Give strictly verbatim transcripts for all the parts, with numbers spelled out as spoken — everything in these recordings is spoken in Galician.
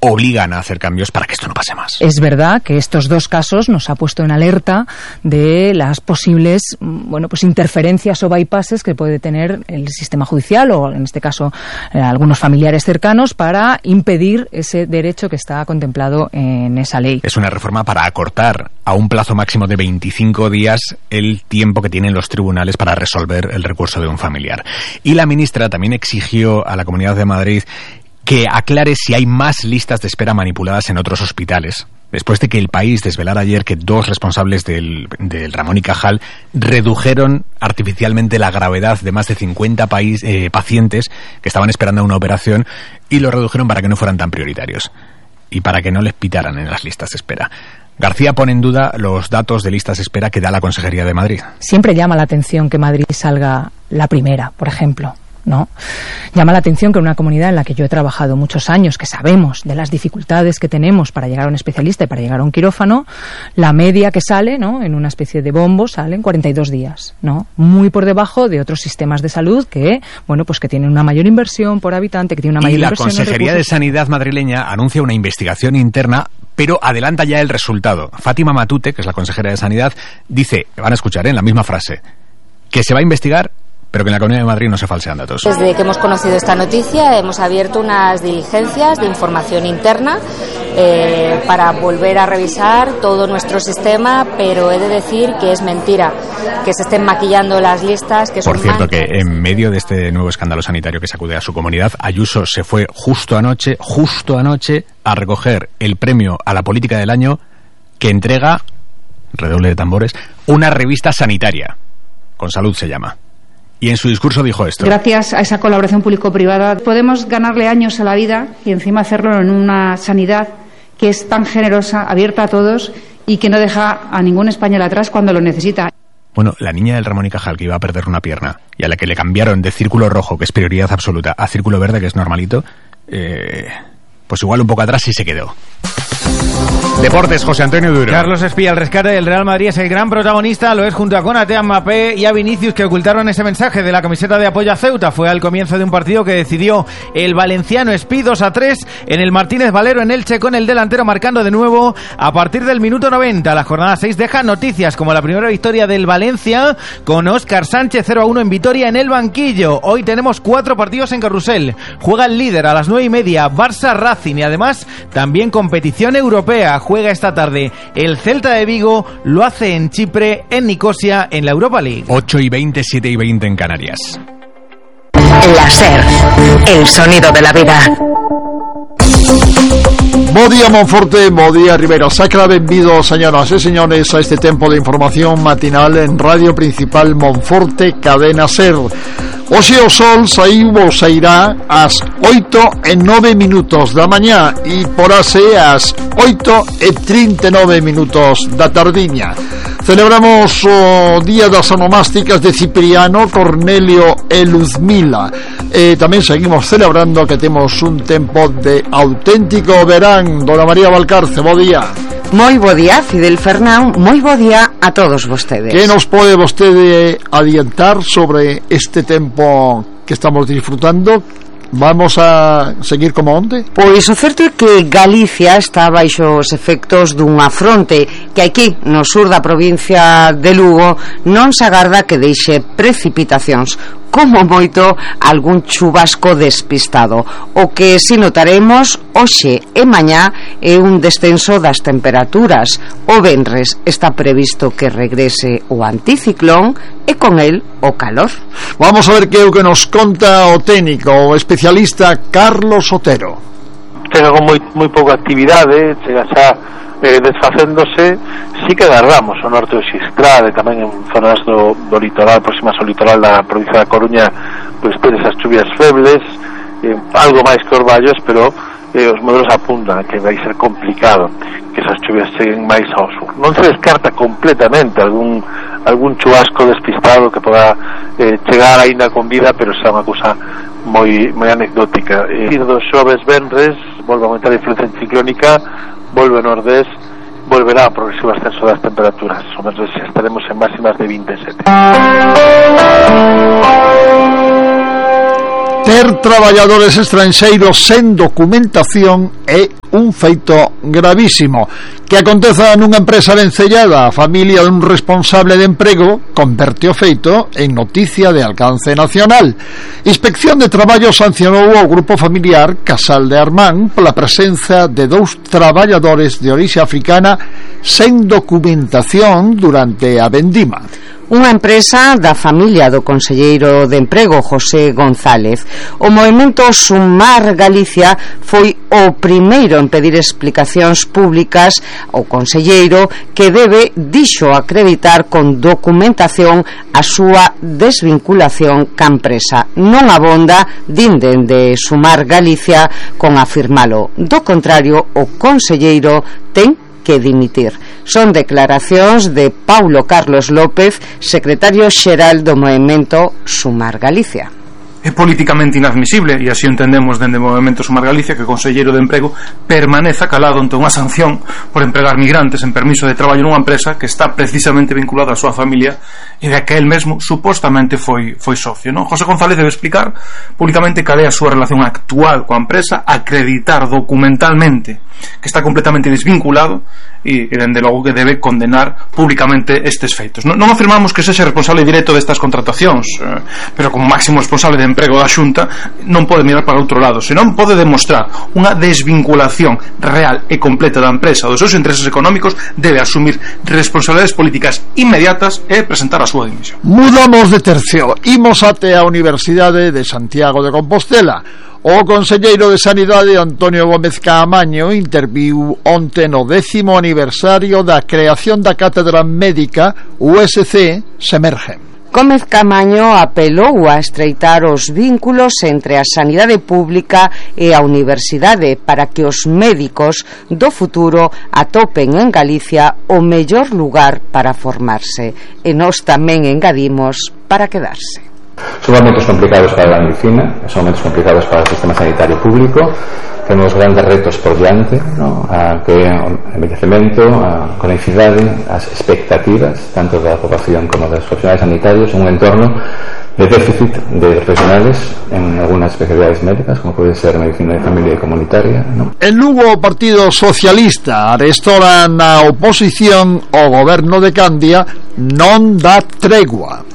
obligan a hacer cambios para que esto no pase más. Es verdad que estos dos casos nos ha puesto en alerta de las posibles, bueno, pues interferencias o bypasses que puede tener el sistema judicial o, en este caso, eh, algunos familiares cercanos para impedir ese derecho que está contemplado en esa ley. Es una reforma para acortar a un plazo máximo de veinticinco días el tiempo que tienen los tribunales para resolver el recurso de un familiar. Y la ministra también exigió a la Comunidad de Madrid que aclare si hay más listas de espera manipuladas en otros hospitales, después de que El País desvelara ayer que dos responsables del, del Ramón y Cajal redujeron artificialmente la gravedad de más de cincuenta país, eh, pacientes que estaban esperando una operación y lo redujeron para que no fueran tan prioritarios y para que no les pitaran en las listas de espera. García pone en duda los datos de listas de espera que da la Consejería de Madrid. Siempre llama la atención que Madrid salga la primera, por ejemplo, ¿no? Llama la atención que en una comunidad en la que yo he trabajado muchos años, que sabemos de las dificultades que tenemos para llegar a un especialista y para llegar a un quirófano, la media que sale, ¿no?, en una especie de bombo sale en cuarenta y dos días, ¿no? Muy por debajo de otros sistemas de salud que, bueno, pues que tienen una mayor inversión por habitante, que tienen una mayor y la inversión. Consejería de Sanidad madrileña anuncia una investigación interna, pero adelanta ya el resultado. Fátima Matute, que es la consejera de Sanidad, dice, van a escuchar, ¿eh?, en la misma frase, que se va a investigar, pero que en la Comunidad de Madrid no se falsean datos. Desde que hemos conocido esta noticia hemos abierto unas diligencias de información interna eh, para volver a revisar todo nuestro sistema, pero he de decir que es mentira que se estén maquillando las listas, que son Por cierto, manchas. Que en medio de este nuevo escándalo sanitario que sacude a su comunidad, Ayuso se fue justo anoche, justo anoche, a recoger el premio a la política del año que entrega, redoble de tambores, una revista sanitaria. Con Salud se llama. Y en su discurso dijo esto. Gracias a esa colaboración público-privada podemos ganarle años a la vida y encima hacerlo en una sanidad que es tan generosa, abierta a todos y que no deja a ningún español atrás cuando lo necesita. Bueno, la niña del Ramón y Cajal que iba a perder una pierna y a la que le cambiaron de círculo rojo, que es prioridad absoluta, a círculo verde, que es normalito, eh, pues igual un poco atrás sí se quedó. Deportes, José Antonio Duro. Carlos Espía, el rescate del Real Madrid es el gran protagonista, lo es junto a Konaté, a Mbappé y a Vinicius, que ocultaron ese mensaje de la camiseta de apoyo a Ceuta. Fue al comienzo de un partido que decidió el valenciano Espí dos a tres en el Martínez Valero en Elche, con el delantero marcando de nuevo a partir del minuto noventa. La jornada seis deja noticias como la primera victoria del Valencia con Óscar Sánchez cero a uno en Vitoria en el banquillo. Hoy tenemos cuatro partidos en carrusel. Juega el líder a las nueve y media, Barça Racing, y además también competición europea. Juega esta tarde el Celta de Vigo, lo hace en Chipre, en Nicosia, en la Europa League. ocho y veinte, siete y veinte en Canarias. La SER, el sonido de la vida. Bo día Monforte, bo día Ribera Sacra, benvidos señoras e señores a este tempo de información matinal en Radio Principal Monforte, Cadena SER. Hoxe o sol saiu ou sairá ás oito e nove minutos da mañá e porase ás oito e trinta e nove minutos da tardiña. Celebramos o Día das Onomásticas de Cipriano, Cornelio e Luzmila. E tamén seguimos celebrando que temos un tempo de auténtico verán. Dona María Valcarce, bo día. Moi bo día, Fidel Fernán, moi bo día a todos vostedes. Que nos pode vostede adiantar sobre este tempo que estamos disfrutando? Vamos a seguir como onde? Pois o certo é que Galicia está baixo os efectos dunha fronte que aquí, no sur da provincia de Lugo, non se agarda que deixe precipitacións, como moito algún chubasco despistado. O que si notaremos hoxe e mañá é un descenso das temperaturas. O venres está previsto que regrese o anticiclón e con el o calor. Vamos a ver que é o que nos conta o técnico, o especialista Carlos Otero. Chega con moi, moi pouca actividade, chega xa eh, desfacéndose. Sí que agarramos o norte do Xistral e tamén en zonas do, do litoral, próximas ao litoral da provincia da Coruña, pois ter esas chuvias febles, eh, algo máis que os vallos, pero eh, os modelos apuntan que vai ser complicado que esas chuvias cheguen máis ao sur. Non se descarta completamente algún algún chubasco despistado que poda eh, chegar aínda con vida, pero xa unha cousa moi moi anecdótica. Eh, dos xoves venres volve a aumentar a influencia ciclónica, volve o nordés, volverá a progresivo ascenso das temperaturas. O menos estaremos en máximas de vinte e sete. Ter traballadores estranxeiros sen documentación é un feito gravísimo. Que aconteza nunha empresa vencellada a familia dun responsable de emprego converte o feito en noticia de alcance nacional. Inspección de Traballo sancionou ao grupo familiar Casal de Armán pola presenza de dous traballadores de orixe africana sen documentación durante a vendima. Unha empresa da familia do conselleiro de Emprego José González. O movemento Sumar Galicia foi o primeiro en pedir explicacións públicas ao conselleiro, que debe, dixo, acreditar con documentación a súa desvinculación ca empresa. Non abonda, din dende Sumar Galicia, con afirmalo. Do contrario, o conselleiro ten que dimitir. Son declaracións de Paulo Carlos López, secretario xeral do movemento Sumar Galicia. É políticamente inadmisible, e así entendemos dende o movemento Sumar Galicia, que o conselleiro de Emprego permaneza calado ante unha sanción por empregar migrantes en permiso de traballo nunha empresa que está precisamente vinculada á súa familia e da que el mesmo supostamente foi foi socio, non? José González debe explicar públicamente cal é a súa relación actual coa empresa, acreditar documentalmente que está completamente desvinculado e, e dende logo que debe condenar públicamente estes feitos. Non, non afirmamos que sexa responsable directo destas contratacións, eh, pero como máximo responsable de emprego da Xunta non pode mirar para outro lado, senón pode demostrar unha desvinculación real e completa da empresa dos seus intereses económicos, debe asumir responsabilidades políticas inmediatas e presentar a súa dimisión. Mudamos de tercio, imos até a Universidade de Santiago de Compostela. O conselleiro de Sanidade Antonio Gómez Caamaño interviu onte no décimo aniversario da creación da Cátedra Médica U S C Semerge. Gómez Caamaño apelou a estreitar os vínculos entre a sanidade pública e a universidade para que os médicos do futuro atopen en Galicia o mellor lugar para formarse. E nós tamén engadimos para quedarse. Son momentos complicados para a medicina, son momentos complicados para o sistema sanitario público. Temos grandes retos por diante, ¿no? A que o envellecemento, a cronicidade, as expectativas tanto da poboación como dos profesionais sanitarios, un entorno de déficit de profesionales en algunas especialidades médicas, como pode ser medicina de familia e comunitaria, ¿no? En Lugo, o Partido Socialista arestora na oposición ao goberno de Candia non dá tregua.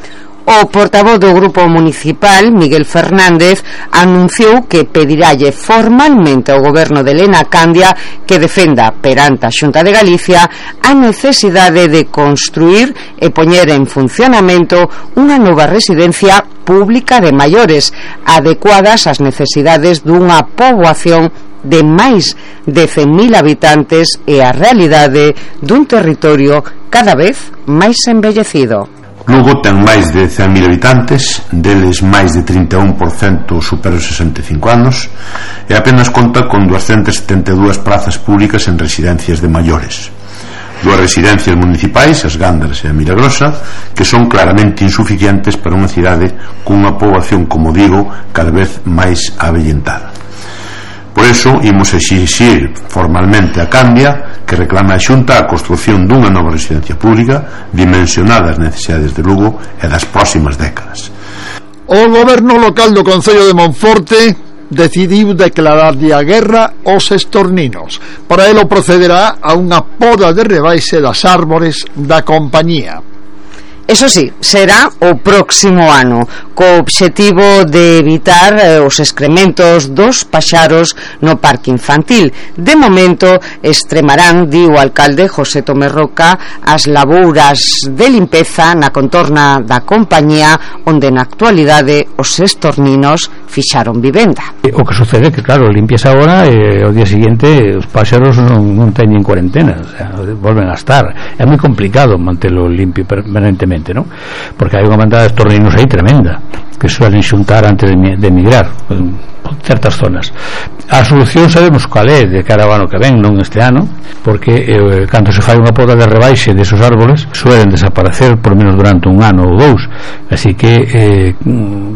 O portavoz do Grupo Municipal, Miguel Fernández, anunciou que pediralle formalmente ao goberno de Elena Candia que defenda perante a Xunta de Galicia a necesidade de construir e poñer en funcionamento unha nova residencia pública de maiores adecuadas ás necesidades dunha poboación de máis de cen mil habitantes e a realidade dun territorio cada vez máis envellecido. Lugo ten máis de cen mil habitantes, deles máis de trinta e un por cento supera os sesenta e cinco anos e apenas conta con duascentas setenta e dúas prazas públicas en residencias de maiores. Dúas residencias municipais, as Gándaras e a Milagrosa, que son claramente insuficientes para unha cidade cunha poboación, como digo, cada vez máis avellentada. Por iso, imos exixir formalmente a Candia que reclame a Xunta a construción dunha nova residencia pública dimensionada ás necesidades de Lugo e das próximas décadas. O goberno local do Concello de Monforte decidiu declararlle a guerra aos estorninos. Para elo procederá a unha poda de rebaixe das árbores da compañía. Eso sí, será o próximo ano, co obxectivo de evitar eh, os excrementos dos paxaros no parque infantil. De momento, extremarán, di o alcalde José Tomé Roca, as labouras de limpeza na contorna da compañía, onde na actualidade os estorninos fixaron vivenda. O que sucede é que, claro, limpias agora e ao día seguinte os páxaros non, non teñen cuarentena, o sea, volven a estar. É moi complicado mantelo limpio permanentemente, ¿no? Porque hai unha mandada de estorninos aí tremenda que suelen xuntar antes de, de emigrar en certas zonas. A solución sabemos cal é de cara ao ano que ven, non este ano, porque eh, cando se fai unha poda de rebaixe desos árboles suelen desaparecer por menos durante un ano ou dous, así que eh,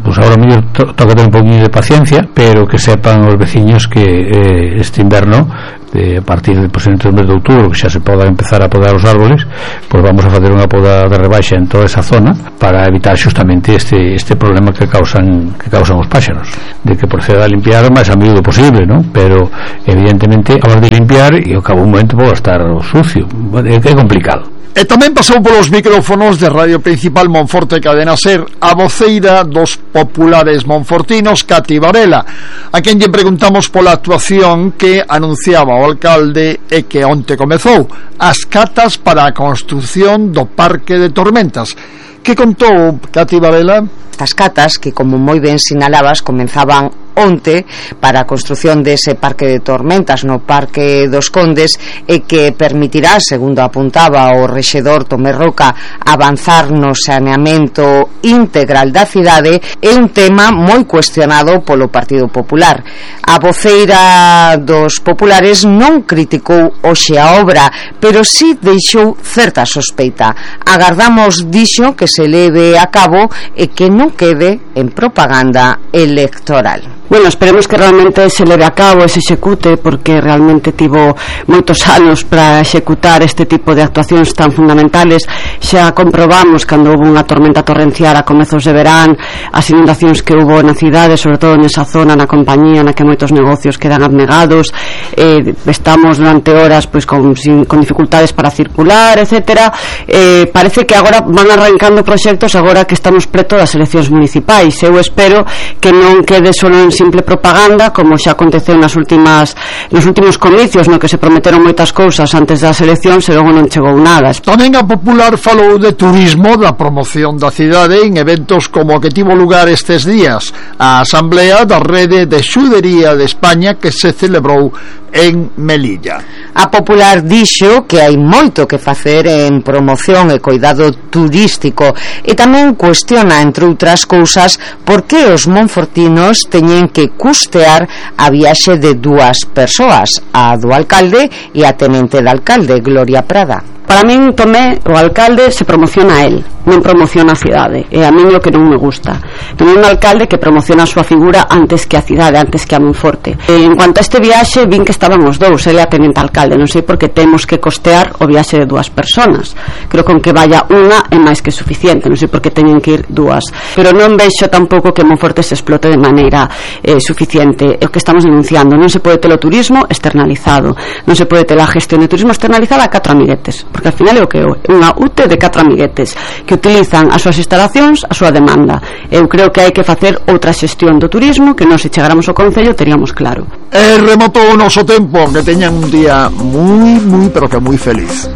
pues agora mellor to toca ter un poquinho de paciencia, pero que sepan os veciños que eh, este inverno de, a partir de, pues, entre o mes de outubro, que xa se poda empezar a podar os árboles, pois vamos a facer unha poda de rebaixa en toda esa zona para evitar xustamente este, este problema que causan que causan os páxaros, de que proceda a limpiar o máis a miúdo posible, ¿no? Pero evidentemente, a hora de limpiar, e ao cabo un momento pode estar sucio, é, é complicado. E tamén pasou polos micrófonos de Radio Principal Monforte Cadena Ser a voceira dos populares monfortinos, Cati Varela, a quen lle preguntamos pola actuación que anunciaba o alcalde e que onte comezou, as catas para a construción do Parque de Tormentas. Que contou Cati Varela? Estas catas, que como moi ben sinalabas, comenzaban onte para a construción dese Parque de Tormentas no Parque dos Condes, e que permitirá, segundo apuntaba o rexedor Tomé Roca, avanzar no saneamento integral da cidade, é un tema moi cuestionado polo Partido Popular. A voceira dos populares non criticou hoxe a obra, pero sí deixou certa sospeita. Agardamos, dixo, que se leve a cabo e que non quede en propaganda electoral. Bueno, esperemos que realmente se leve a cabo e se execute, porque realmente tivo moitos anos para executar este tipo de actuacións tan fundamentales. Xa comprobamos cando houve unha tormenta torrencial a comezos de verán, as inundacións que houve na cidade, sobre todo nesa zona, na compañía, na que moitos negocios quedan abnegados, eh, estamos durante horas pois con, sin, con dificultades para circular, etcétera. Eh, parece que agora van arrancando proxectos agora que estamos preto das eleccións municipais. Eu espero que non quede só en simple propaganda, como xa aconteceu nas últimas nos últimos comicios, no que se prometeron moitas cousas antes das eleccións e logo non chegou nada. Tamén a Popular falou de turismo, da promoción da cidade en eventos como o que tivo lugar estes días, a Asamblea da Rede de Xudería de España, que se celebrou en Melilla. A Popular dixo que hai moito que facer en promoción e cuidado turístico, e tamén cuestiona, entre outras cousas, por que os monfortinos teñen que custear a viaxe de dúas persoas, a do alcalde e a tenente de alcalde, Gloria Prada. Para min, Tomé, o alcalde, se promociona a él, non promociona a cidade, e a min o que non me gusta. Tomé un alcalde que promociona a súa figura antes que a cidade, antes que a Monforte. E en cuanto a este viaxe, vin que estaban os dous, ele a tenente alcalde, non sei por que temos que costear o viaxe de dúas personas. Creo que con que vaya unha é máis que suficiente, non sei por que teñen que ir dúas. Pero non vexo tampouco que Monforte se explote de maneira eh, suficiente. É o que estamos denunciando, non se pode ter o turismo externalizado, non se pode ter a gestión de turismo externalizada a catro amiguetes, porque al final é o que é unha U T E de catro amiguetes que utilizan as súas instalacións, a súa demanda. Eu creo que hai que facer outra xestión do turismo que non se chegáramos ao Concello teríamos claro. E rematou o noso tempo, que teñan un día moi, moi, pero que moi feliz.